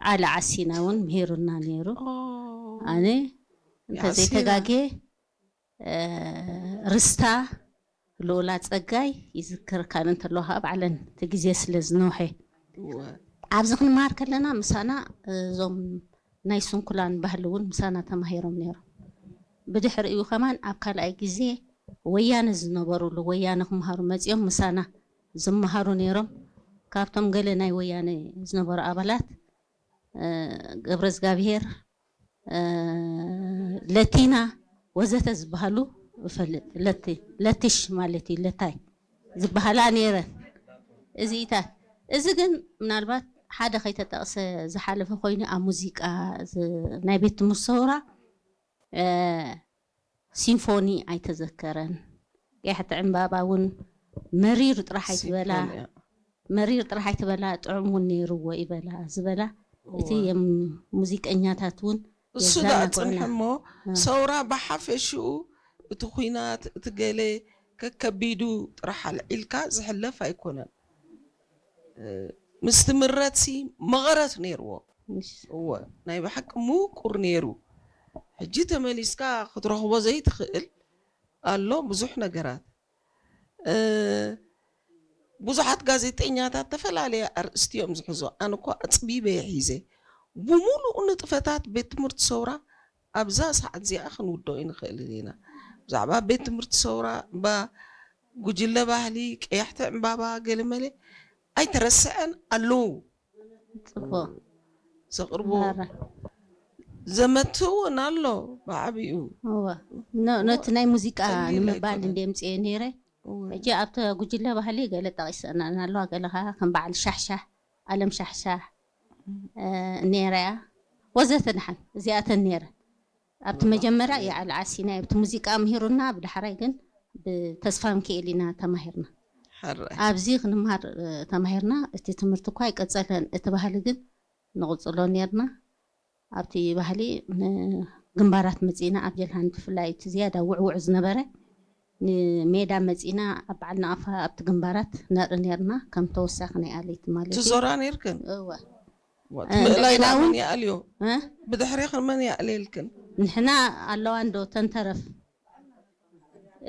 ዓሊ ዓሲና እውን ምሂሩና ነይሩ። ኣነ እንተዘይተጋጌ ርስታ ልኡላ ጸጋይ ይዝክር። ካን እንተለዋ ከዓ ባዕለን እቲ ግዜ ስለ ዝነውሐ ኣብዚ ክንመሃር ከለና ምሳና እዞም ናይ ስንኩላን ባህሊ እውን ምሳና ተማሂሮም ነይሮም። ብድሕሪኡ ከማን ኣብ ካልኣይ ግዜ ወያነ ዝነበሩሉ ወያነ ክመሃሩ መፂኦም ምሳና ዝመሃሩ ነይሮም። ካብቶም ገለ ናይ ወያነ ዝነበሩ ኣባላት ገብረ እግዚኣብሄር፣ ለቲና ወዘተ ዝበሃሉ እፈልጥ። ለቲ ለቲሽ ማለት እዩ፣ ለታይ ዝበሃላ ነይረን። እዚኢታት እዚ ግን ምናልባት ሓደ ከይተጠቕሰ ዝሓለፈ ኮይኑ ኣብ ሙዚቃ ናይ ቤት ትምህርቲ ሰውራ ሲምፎኒ ኣይተዘከረን። ቀያሕቲ ዕምባባ እውን መሪር ጥራሕ ኣይትበላ፣ መሪር ጥራሕ ኣይትበላ፣ ጥዑም እውን ነይርዎ ይበላ ዝበላ። እቲ የም ሙዚቀኛታት እውን እሱ ደኣ የዘናግዑና። ጽንሐ እሞ፣ እ። ሰውራ ብሓፈሽኡ እቲ ኲናት፣ እቲ ገለ ከከቢዱ ጥራሕ ኣልዒልካ ዝሕለፍ ኣይኮነን። እ፣ ምስ ትምረትሲ መቐረት ነይርዎ። እሺ። እወ፣ ናይ ብሓቂ ምቁር ነይሩ። ሕጂ ተመሊስካ ክትረኽቦ ዘይትኽእል ኣሎ ብዙሕ ነገራት። እ፣ ብዙሓት ጋዜጠኛታት ዝተፈላለየ ኣርእስቲ እዮም ዝሕዙ። ኣነ እኮ ኣጽቢበ እየ ሒዘ። ብምሉኡ ንጥፈታት ቤት ትምህርቲ ሰውራ ኣብዛ ሰዓት እዚኣ ክንውድኦ ኣይንኽእልን ኢና። ብዛዕባ ቤት ትምህርቲ ሰውራ፣ እምባ ጉጅለ ባህሊ፣ ቀያሕቲ ዕምባባ፣ ገለመለ ኣይተረስዐን ኣለዉ። ጽቡቕ። ዘቕርቦ ማራ። ዘመት እውን ኣሎ ብዓቢኡ። እወ። ኖ-፣ ነቲ ናይ ሙዚቃ ቀሊል ንምባል ኣይኮነን። እንደ ምጽኤ ነይረ። እወ። ሕጂ ኣብቲ ጉጅለ ባህሊ ገለ ጠቒሰናን ኣለዋ፣ ገለ ኸዓ ከም በዓል ሻሕሻሕ፣ ኣለም ሻሕሻሕ፣ እ፣ ነይራ እያ። ወዘተ ደሓን እዚኣተን ነይረ። ኣብቲ መጀመርያ የዓል ዓሲና ኣብቲ ሙዚቃ ምሂሩና፣ ብዳሕራይ ግን ብተስፋ ሚካኤል ኢና ተማሂርና። ሕራይ። ኣብዚ ክንምሃር፣ እ፣ ተማሂርና። እቲ ትምህርቲ እኳ ኣይቀጸለን፣ እቲ ባህሊ ግን ንቕጽሎ ነይርና። ኣብቲ ባህሊ ንግንባራት መጺእና፣ ኣብ ጀልሃን ብፍላይ እቲ ዝያዳ ውዕውዕ ዝነበረ ንሜዳ መጺእና፣ ኣብ በዓል ነቐፋ ኣብቲ ግንባራት ነርኢ ነይርና፣ ከም ተወሳኺ ናይ ኣለይቲ ማለት እዩ። ትዞራ ነይርክን? እወ። ዋ፣ እ፣ ትምእላይ እንደገና እውን መን ይኣልዮ? እ? ብድሕሬኽን መን ይኣልየልክን? ንሕና ኣለዋ እንዶ ተንተረፍ።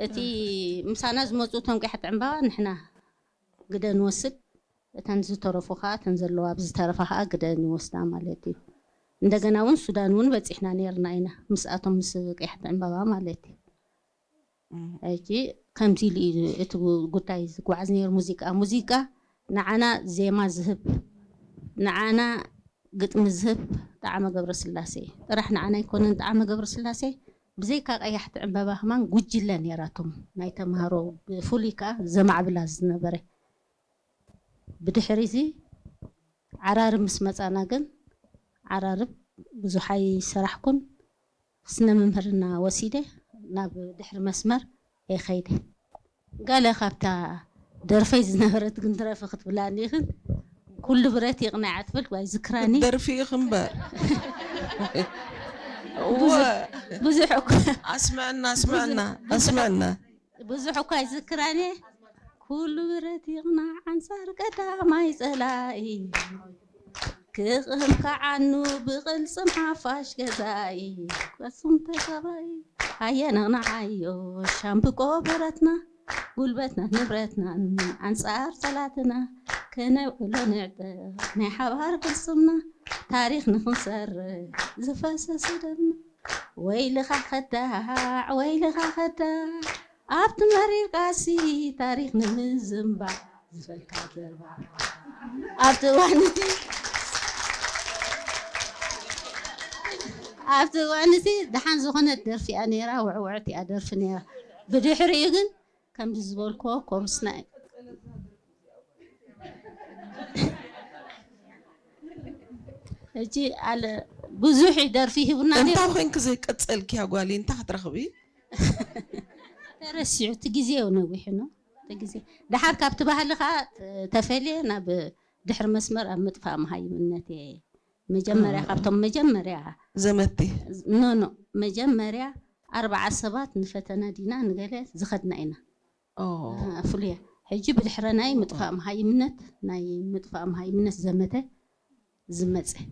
እቲ ምሳና ዝመጹ እቶም ቀያሕቲ ዕምባባ ንሕና ግደ ንወስድ፣ እተን ዝተረፉ ኸኣ፣ እተን ዘለዋ ብዝተረፋ ኸኣ ግደ ንወስዳ ማለት እዩ። እንደገና እውን ሱዳን እውን በጺሕና ነይርና ኢና፣ ምስኣቶም ምስ ቀያሕቲ ዕምባባ ማለት እዩ። እም። ሕጂ ከምዚ ኢሉ እዩ እቲ ጉ-፣ ጉዳይ ዝጓዓዝ ነይሩ። ሙዚቃ፣ ሙዚቃ ንዓና ዜማ ዝህብ፣ ንዓና ግጥሚ ዝህብ ጣዕመ ገብረስላሴ ጥራሕ ንዓና ኣይኮነን። ጣዕመ ገብረስላሴ ብዘይካ ቀያሕቲ ዕምባባ ከማን ጉጅለ ነይራቶም ናይ ተምሃሮ፣ ብፍሉይ ከኣ ዘማዕብላ ዝነበረ። ብድሕሪ እዚ ዓራርብ ምስ መጻና ግን፣ ዓራርብ ብዙሕ ኣይሰራሕኩን፣ ስነ ምምህርና ወሲደ ናብ ድሕሪ መስመር እየ ኸይደ። ገለ ካብታ ደርፈይ ዝነበረት ግን ትረፊ ክትብላኒ ኢኽን፣ ኩሉ ብረት ይቕናዕ ትብል ወይ ዝክራኒ። ደርፊ ኢኽ እምበር። እወ። ብዙሕ፣ ብዙሕ እኮ ኣስምዐና፣ ኣስምዐና፣ ብዙሕ፣ ኣስምዐና። ብዙሕ እኳ ኣይዝክራን እየ። ኩሉ ብረት ይቕናዕ ኣንጻር ቀዳማይ ጸላኢ። ክቕም ከዓኑ ብቕልጽም ሓፋሽ ገዛኢ። ቅስም ተጋባኢ ሃየ ነቕንዓዮ ሻምብቆ ብረትና። ጉልበትና ንብረትናን ኣንጻር ጸላትና። ከነውዕሎ ንዕጠቕ ናይ ሓባር ቅልጽምና። ታሪኽ ንኽንሰርሕ ዝፈሰሰ ደምና። ወይልኻ ከዳዕ፣ ወይልኻ ከዳዕ፣ ኣብቲ መሪር ቃልሲ ታሪኽ ንምዝንባዕ ዝፈልካ ዘርባዕ። ኣብቲ እዋን እቲ፣ ኣብቲ እዋን እቲ ደሓን ዝኾነት ደርፊ እያ ነይራ፣ ውዕውዕቲ እያ ደርፊ ነይራ። ብድሕሪኡ ግን ከምዚ ዝበልክዎ ኮርስና እዩ። ሕጂ ኣለ ብዙሕ ደርፊ ሂቡና ነይሩ። እንታይ ኮንክ ዘይቀጸልክያ ጓለይ፣ እንታይ ክትረኽቢ? ተረሲዑ፣ እቲ ግዜ እዩ ነዊሑ ነው። እቲ ግዜ። ደሓር ካብቲ ባህሊ ኸኣ ተፈልየ ናብ ድሕሪ መስመር ኣብ ምጥፋእ መሃይምነት እየ። መጀመርያ፣ እ። ካብቶም መጀመርያ ዘመቲ። ኖ፣ ኖ፣ መጀመርያ ኣርብዓ ሰባት ንፈተና ዲና ንገለ ዝኸድና ኢና። ኦ። እ፣ ፍሉያ። ሕጂ ብድሕረ ናይ ምጥፋእ መሃይምነት፣ ናይ ምጥፋእ መሃይምነት ዘመተ ዝመጸ።